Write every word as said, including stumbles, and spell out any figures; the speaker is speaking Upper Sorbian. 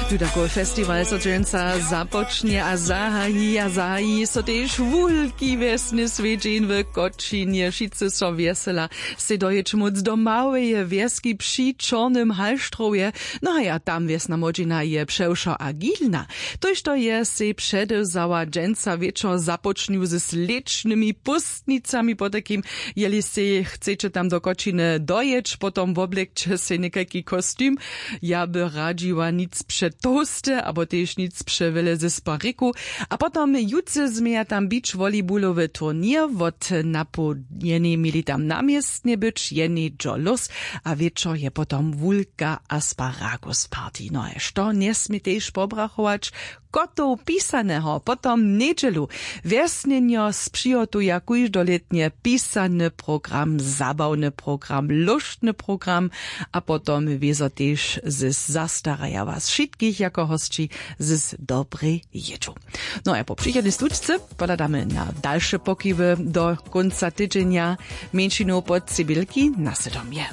Tudakowy festiwal so dźensa započnje a zahaji a zahaji so tež wulki wjesny swjedźeń w kočinje. Wšitcy so wjesela sej dojěć móc do małeje wjeski při čornym halštrowje. No a ja tam wjesna młodźina je přewšo agilna. Tójšto je sej předewzała dźensa wječor započnju z slěčnymi póstnicami potajkim. Jeli sej chceće tam do kočiny dojěć potom woblekće sej někajki kostim. Ja by radźiła nic přetołste abo tež nic přewjele z spariku. A potom jutře změja tam bić volejbulowy turněr wot napołdnjenej měli tam na městnje być jenej džo lós. A wječor je potom wulka asparagus party no a što njesmě tež pobrachować, kotow pisaneho potom njedźelu wjesnjenjo spřihotuja kóždolětnje pisany program, zabawny program, lóštny program. A potom wězo tež zes zastaraja was wšitkich jako hosći zes dobrej jědźu. No a po přichodnej slučce pohladamy na dalše pokiwy do kónca tydźenja. Mjeńšinow pod cybělki na sydomje.